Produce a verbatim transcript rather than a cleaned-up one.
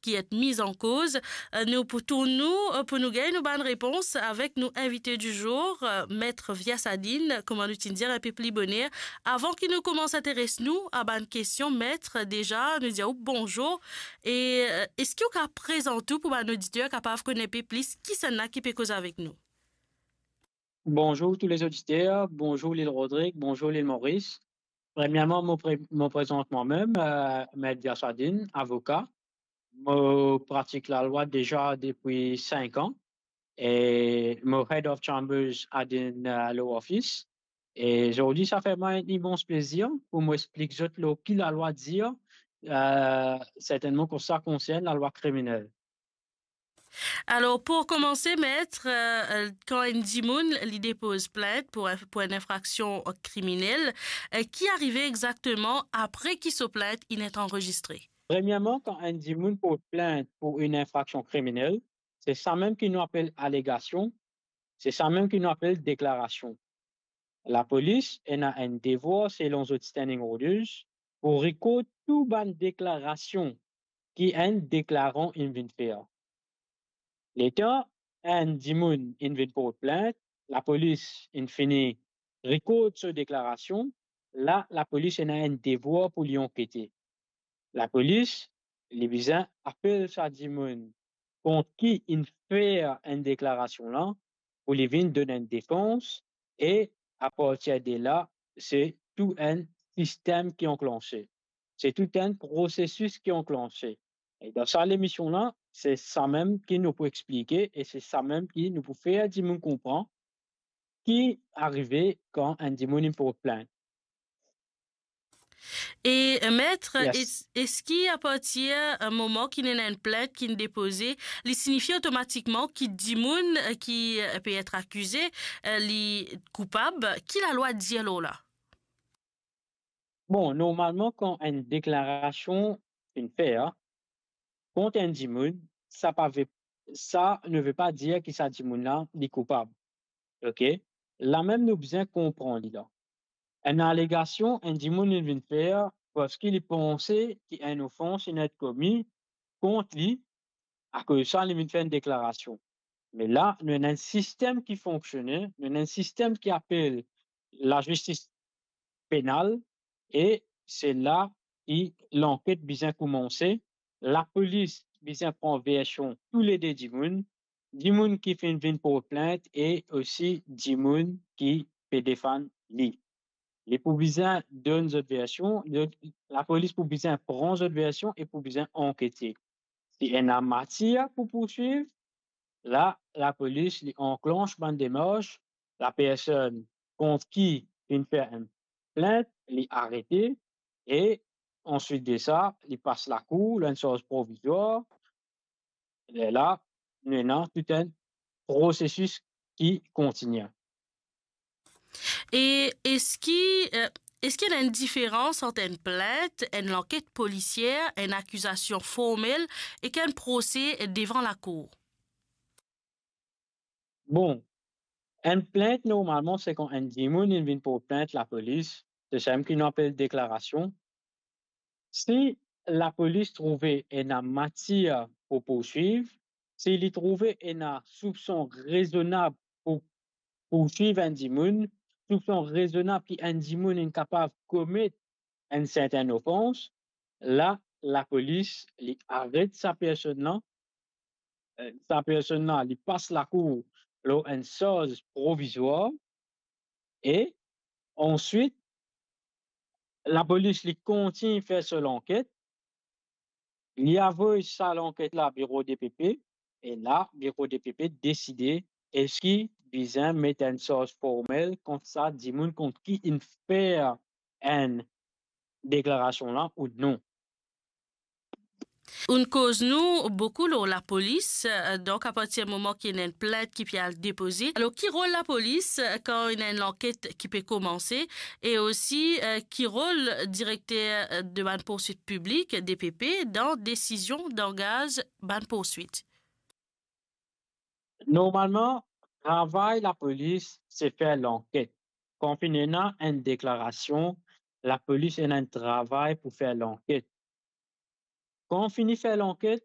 ki et miz an koz. Eh, nou pou tourn nou, eh, pou nou gagn nou bann repons avek nou invite du jour, eh, Maître Viasadine, kouma nou ti dir inpe pli boner. Avan ki nou koumans interes nou a bann kestion, Maître, deza, nou dir ou bonzour. E, eh, eski ou kapav prezant ou pou bann oditer kapav konn inpe plis kisannla ki pe koz avek nou? Bonzour tou lezoditer, bonzour Lil Rodrig, bonzour Lil Moris. Premierman, mo pre-, mo prezant mwa mem, eh, Maître Viasadine, avoka. Mo pratik lalwa deza depi sink an e mo Head of Chambers dan enn, eh, law office. E zordi, sa fer mwa enn imans plezir pou mo explik zot lor ki lalwa dir, eh, sertennman kan sa konsern lalwa kriminel. Alor, pou koumanse, Maître, eh, kan enn dimoun li depoz plint pou, pou enn infraksion kriminel, eh, ki arive exakteman apre ki so plint inn et anrezistre? Premierman, kan enn dimoun port plint pou enn infraksion kriminel, se samem ki nou apel alegasion, se samem ki nou apel deklarasion. Lapolis ena enn devwar, selon zot standing orders, pou rekord tou bann deklarasion ki enn deklaran inn vinn fer. Letan enn dimoun inn vinn port plint, lapolis inn fini rekord so deklarasion, la lapolis ena enn devwar pou li ankete. Lapolis, li bizin apel sa dimoun kont ki inn fer enn deklarasion la, pou li vinn donn enn defans, e apartir de la, se tou enn sistem ki anklanse. Se tou enn prosesis ki anklanse. E dan sa lemision la, se samem ki nou pou explike e se samem ki nou pou fer dimoun konpran ki arive kan enn dimoun inn port plint. E, eh, Maître, yes, es-, eski apartir, eh, moman ki ena enn plint ki inn depoze, li signifie otomatikman ki dimoun, eh, ki, eh, pe et akize, eh, li koupab? Ki lalwa dir lor la? Bon, normalman, kan enn deklarasion finn fer kont enn dimoun, sa pa ve, sa ne ve pa dir ki sa dimoun la, li koupab. Ok? Lamem nou bizin konpran li la. Enn alegasion, enn dimoun inn vinn fer parski li panse ki enn ofans inn et komi kont li, akoz sa, li vinn fer enn deklarasion. Me la, nou ena enn sistem ki fonksione, nou ena enn sistem ki apel lazistis penal, e se la ki lanket bizin koumanse. Lapolis bizin pran version toulede dimoun, dimoun ki finn vinn port plint e osi dimoun ki pe defann li. Li pou bizin donn zot version, zot, lapolis pou bizin pran zot version e pou bizin ankete. Si ena matir pou pourswiv, la, lapolis, li anklans bann demars, lapersonn kont ki finn fer enn plint, li arete, e answit de sa, li pas lakour, lor enn sarz provizwar. Lerla, nou ena tou enn prosesis ki kontigne. E eski, eh, eski ena enn diferans ant enn plint, enn lanket polisier, enn akizasion formel ek enn prose devan lakour? Bon, enn plint, normalman, se kan enn dimoun inn vinn port plint lapolis, se samem ki nou apel deklarasion. Si lapolis trouve ena matir pou pourswiv, si li trouve ena soupson rezonab pou pourswiv enn dimoun, soupson rezonab ki enn dimoun inn kapav komet enn sertenn ofans, la, lapolis, li aret sa personn la, eh, sa personn la, li pas lakour lor enn sarz provizwar, e answit, lapolis, li kontign fer so lanket, li avoy sa lanket la biro DPP, e la, biro DPP deside eski bizin met enn sarz formel kont sa dimoun kont ki inn fer enn deklarasion la ou non. Ou'nn koz nou boukou lor lapolis, eh, donk apartir moman ki ena enn plint ki pe al depoze. Alor, ki rol lapolis, eh, kan ena enn lanket ki pe koumanse, e osi, eh, ki rol direkter, eh, de bann pourswit piblik, DPP, dan desizion dangaz bann pourswit? Normalman, travay lapolis, se fer lanket. Kan finn ena enn deklarasion, lapolis ena enn travay pou fer lanket. Kan fini fer lanket,